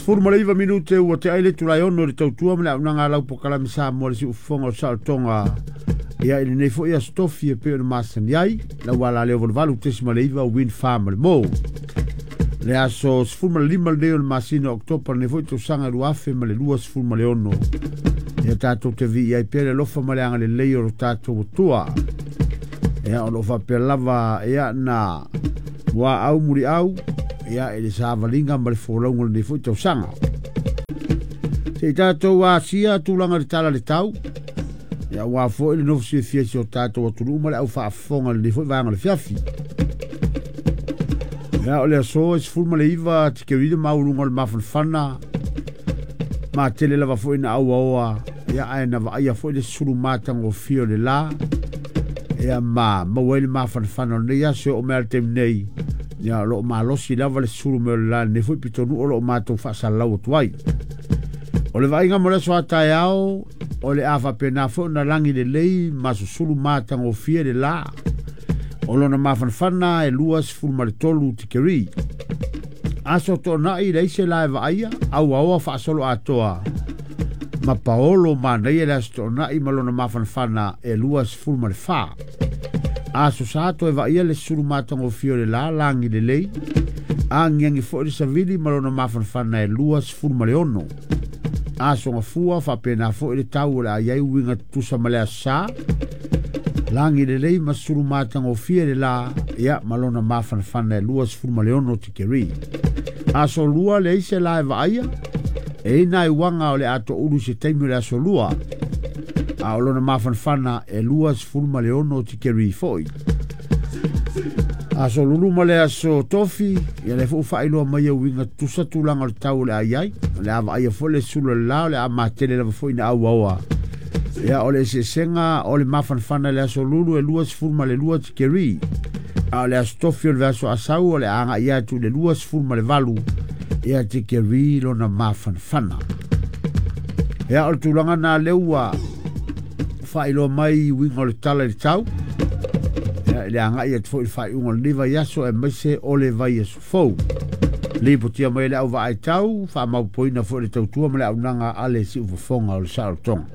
19 minute ua te aile tulai ono le tautua ma le aunaga lau pokalame sa mo le siufofoga o saolotoga. Ia i lenei foi aso tofi e pei ona masani ai lau ala leo 88.9 Wind Farm le mo. Le aso 15 lenei o le masina o Oketopa lenei foi tausaga 2026. Ia tatou te viia ai pea le alofa ma le agalelei o lo tatou Atua. Ia o lo o faapea lava ia na ua au muri au ia i le savaliga ma le folauga o lenei foi tausaga. Se i tatou asia tulaga i le tala le tau. Ia ua foi le nofo silafia si o tatou atunuu ma le au faafofoga i lenei foi vaega o le fiafi. Ia o le aso e 19 tikeri le maualuga o le mafanafana ma tele lava foi na auaoa ia ae na vaaia foi le sulu matagofie o le la ia ma maua ai le mafanafana o lenei aso o mea le taimi nei. Ia o lo o malosi lava le sulu mea o le la lenei foi pitonuu o lo o matou faasalalau atu ai. O le vaaiga mo le aso a taeao o le a faapena foi ona lagi lelei ma susulu matagofie le la. O lona mafanafana e 23 tikeri. Aso toonai leai se la e vaaia, auaoa faasolo atoa. Ma paolo manaia le aso toonai ma lona mafanafana e 24. Aso sa toe vaaia le sulu matagofie o le la lagi lelei. Agiagi foi le savili ma lona mafanafana e 26. Aso gafua faapena foi le tau o le a iai uiga tutusa ma le aso sa. Lagi lelei ma sulu matagofie le la ia ma lona mafanafana e 26 tikeri. Aso lua leai se la e vaaia, e ina i uaga o le a toulu se taimi o le aso lua. A o lona mafanafana e 26 tikeri foi. Aso lulu ma le aso tofi, ia le fuu faailoa mai e uiga tutusa tulaga o le tau o le a iai. O le a vaaia foi le sulu o le la o le a matele lava foi na auaoa. Ia o le eseesega o le mafanafana i le aso lulu e 22 tikeri. A o le aso tofi o le aso asau o le a agai atu i le 28 ia tikeri lona mafanafana. Ia o le tulaga na lea ua faailoa mai uiga o le tala i le tau. Ia i le agai atu foi i le faaiuga o lenei vaiaso aemaise o le vaiaso fou. Lipotia mai le au vaai tau, faamaupoina foi le tautua ma le aunaga a le siufofoga o le saolotoga.